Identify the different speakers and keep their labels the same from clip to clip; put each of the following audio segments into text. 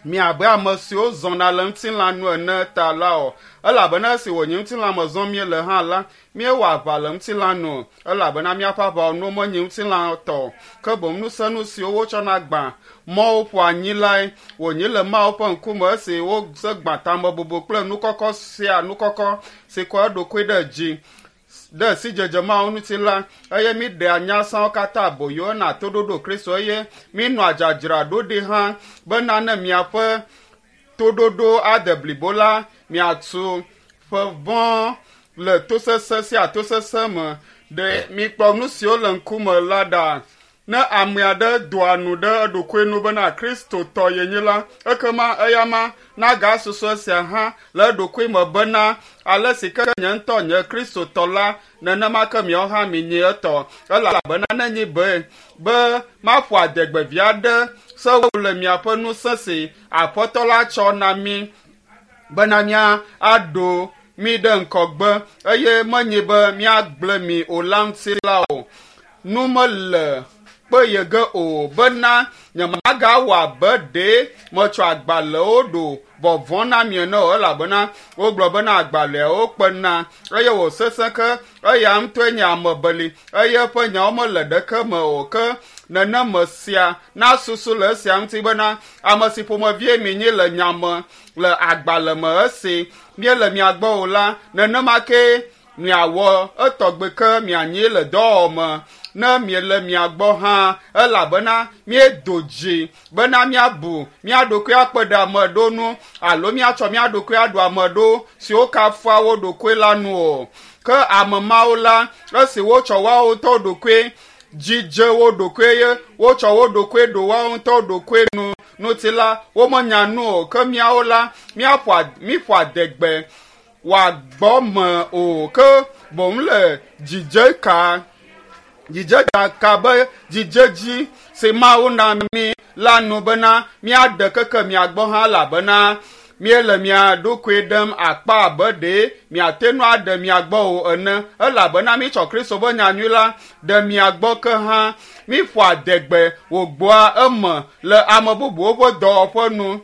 Speaker 1: Mi abe ame siwo zɔna le ŋutilã nu ene ta la o, elabena esi wònye ŋutilã me zɔm míele hã la, míewɔ aʋa le ŋutilã nu o, elabena míaƒe aʋawɔnuwo menye ŋutilã tɔ o, ke boŋ nusenu siwo wotsɔna gbã mɔwo ƒoa anyi lae wònye le Mawu ƒe ŋkume esi wose gbã tamebubu kple nukɔkɔ sia nukɔkɔ si kɔ eɖokui ɖe dzi ɖe sidzedze Mawu ŋuti la, eye míɖea nyasãwo katã aboyo hena toɖoɖo Kristo eye míenɔa dzadzraɖoɖi hã bena ne miaƒe toɖoɖo ade blibo la, miatu ƒe vɔ̃ le tosesẽ sia tosesẽ me. Ɖe mikpɔ nu siwo le ŋkume la ɖa. Ne ame aɖe doa nu ɖe eɖokui nu bena Kristotɔ yenye la, ekema eyama nagasusu esia hã le eɖokui me bena ale si ke nye ŋutɔ nye Kristotɔ la, nenema ke miawo hã minyi etɔ. Elabena nenyi be be maƒo adegbe vi aɖe sewu le miaƒe ŋusẽ si Aƒetɔ la tsɔ na mí bena mía aɖo mí ɖe ŋgɔgbe eye menye be míagblẽ mi o la ŋuti la o. Nu mele kpe ye ge o bena nyemagawɔ abe ɖe metsɔ agbalẽwo ɖo vɔvɔ̃ na mi ene o elabena wogblɔ bena agbalẽawo kpena eye wòsesẽ ke eya ŋutɔe nye ame beli eye eƒe nyawo mele ɖeke me o ke neneme sia nasusu le esia ŋuti bena ame si ƒomevie minyi le nya me le agbalẽ me esi míele mia gbɔ o la nenema ke miawɔ etɔgbe ke mianyi le dɔwɔwɔ me ne miele mia gbɔ hã elabena míedo dzi bena míabu mía ɖokui akpe ɖe ame ɖo nu alo míatsɔ mía ɖokui aɖo ame ɖo siwo kafua wo ɖokui la nu o. Ke ame mawo la, esi wotsɔ woawo ŋutɔ ɖokui dzidze wo ɖokui ye wotsɔ wo ɖokui ɖo woawo ŋutɔ ɖokui nu ŋuti la, womenya nu o. Ke míawo la, míaƒo míƒo adegbe wòagbɔ me o ke boŋ le dzidzeka dzidzedzaka be dzidzedzi si Mawu na mí la nu bena míaɖe keke mia gbɔ hã elabena míele mia ɖokui ɖem akpa abe ɖe miate ŋu aɖe mia gbɔ o ene elabena mítsɔ Kristo ƒe nyanyui la ɖe mia gbɔ ke hã míƒo adegbe wògbɔa eme le ame bubuwo ƒe dɔwɔƒe nu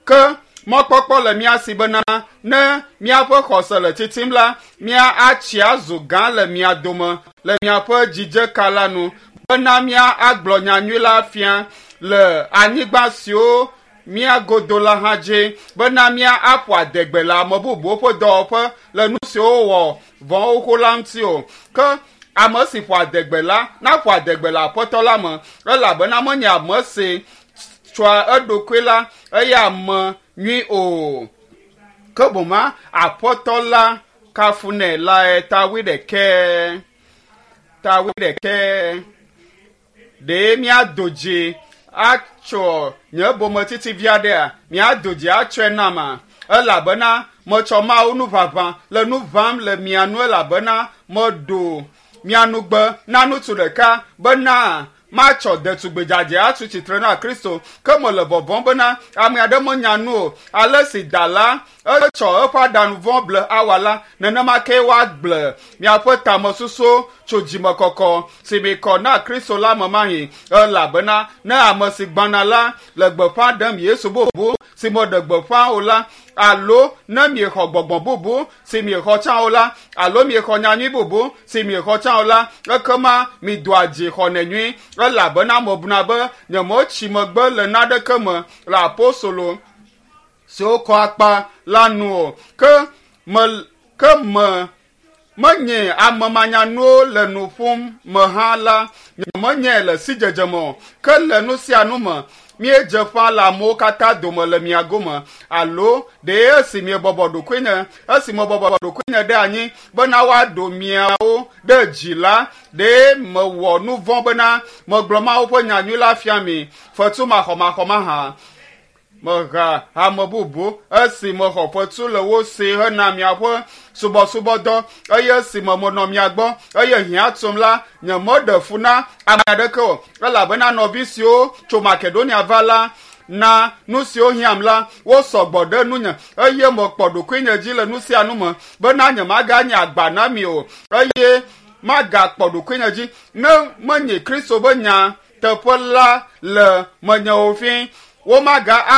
Speaker 1: ke mɔkpɔkpɔ le mía si bena ne míaƒe xɔse le tsitsim la, mía atsi azu gã le mia dome le miaƒe dzidzeka la nu bena mía agblɔ nyanyui la fia le anyigba siwo mía godo la hã dzi bena mía aƒo adegbe le ame bubuwo ƒe dɔwɔƒe le nu siwo wowɔ vɔ̃ xoxo la ŋuti o. Ke ame si ƒo adegbe la naƒo adegbe le Aƒetɔ la me elabena menye ame si tsɔa eɖokui la eya ame nyui o. Ke boŋ Aƒetɔ la kafunɛ lae ta wuiɖekɛ. Ta wuiɖekɛ. Ɖe míado dzi atsɔ nye bometsitsi vi aɖea? Míado dzi atsɔe nama? Elabena metsɔ Mawu nuʋaʋã le nu ʋãm le mia nu elabena meɖo mia nugbe na ŋutsu ɖeka bena matsɔ ɖetugbi dzadzɛ atu tsitre na Kristo. Ke mele vɔvɔ̃m bena ame aɖe menya nu o. Ale si da la etsɔ eƒe aɖaŋu vɔ̃ ble Awa la, nenema ke woagble miaƒe tamesusu tso dzimekɔkɔ si mikɔ na Kristo la me mahi. Elabena ne ame si gbãna la le gbeƒã ɖem Yesu bubu si meɖe gbeƒã o la, alo ne miexɔ gbɔgbɔ bubu si miexɔ tsã o la, alo miexɔ nyanyui bubu si miexɔ tsã o la, ekema midoa dzi xɔnɛ nyui elabena mebuna be nyemetsi megbe le naneke me le apostolo siwo kɔ akpa la nu o. Ke me ke me menye ame manyanuwo le nu ƒom me hã la, nyemenyae le sidzedze me o. Ke le nu sia nu me, míedze ƒã le amewo katã dome le mia gome. Alo ɖe esi miebɔbɔ ɖokuinye, esi mebɔbɔ ɖokuinye ɖe anyi bena woaɖo miawo ɖe dzi la, ɖe mewɔ nu vɔ̃ bena megblɔ Mawu ƒe nyanyui la fia mi fetu maxɔmaxɔ mahã? Meha ame bubu esi mexɔ fetu le wo si hena miaƒe subɔsubɔdɔ eye esime menɔ mia gbɔ eye hiã tum la, nyemeɖe fu na ame aɖeke o elabena nɔvi siwo tso Makedonia va la na nu siwo hiãm la wosɔ gbɔ ɖe nunye eye mekpɔ ɖokuinye dzi le nu sia nu me bena nyemaganye agba na mi o eye magakpɔ ɖokuinye dzi ne menye Kristo ƒe nya teƒe la le menye o fi. Womaga